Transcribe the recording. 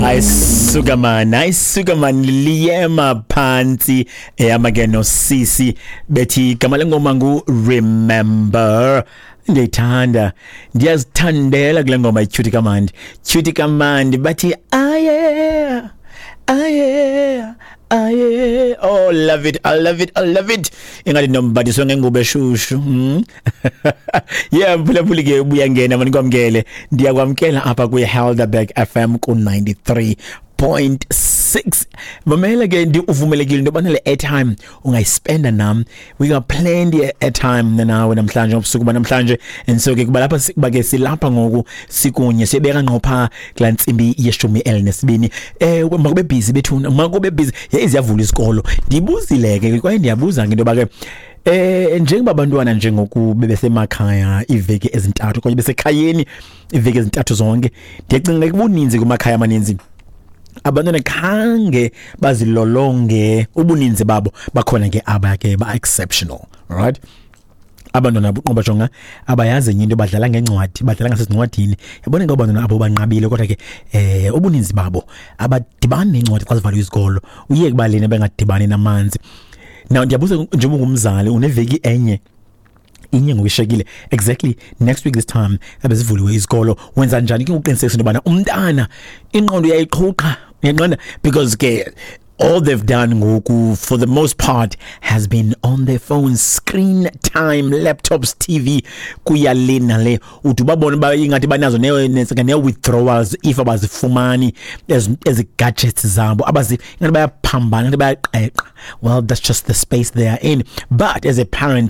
Ayisuka man, ayisuka man, liyema phantsi ehamba ke nosisi bethi igama lengoma ngu Remember. Ndiyayithanda, ndiyazithandela kule ngoma ityhuti kamandi, tyhuti kamandi, bathi aye aye aye. Oh, love it, I love it, I love it. Ingathi nombadiswe ngengubo eshushu. Yeah, mphulaphuli ke, ubuyangena mani, kwamkele, ndiyakwamkela apha kwi-Helderberg FM ku-93.6. Mamela ke, ndi uvumelekile into yobana le airtime ungayispenda nam. We got plenty airtime nawe namhlanje, ubusuku banamhlanje. And so ke kuba lapha, kuba ke silapha ngoku sikunye, sibeka ngqo phaa kulaa ntsimbi ye-12. Makube busy bethuna, makube busy. Yeyi, ziyavula isikolo. Ndibuzile ke kwaye ndiyabuza ke into yoba ke njengoba abantwana njengoku bebesemakhaya iiveki ezintathu okanye besekhayeni iiveki ezintathu zonke, ndiyacinga kubuninzi kumakhaya amaninzi abantwana khange bazilolonge ubuninzi babo. Bakhona ke aba ke ba-exceptional, right? Abantwana buqoba, jonga, abayazi enye into, badlala ngencwadi, badlala ngasezincwadini, yabona ke abantwana abo banqabile. Kodwa ke ubuninzi babo abadibani nencwadi xa zivaliwe izikolo, uye kubaleni bengadibani namanzi. Now ndiyabuza, njengoba ungumzali, uneveki enye inye ngokushekile, exactly next week this time abezivuliwe izikolo, wenza njani ke uqinisekisa into yobana umntana ingqondo uyayiqhuqha, uyaqonda? Because ke all they've done ngoku for the most part has been on their phones, screen time, laptops, TV, kuya le nale. Uthi ubabone uba ingathi banazo nee-withdrawals if abazifumani ezi gadgets zabo, abazi ingathi bayaphambana, ingathi bayaqeqa. Well, that's just the space they are in, but as a parent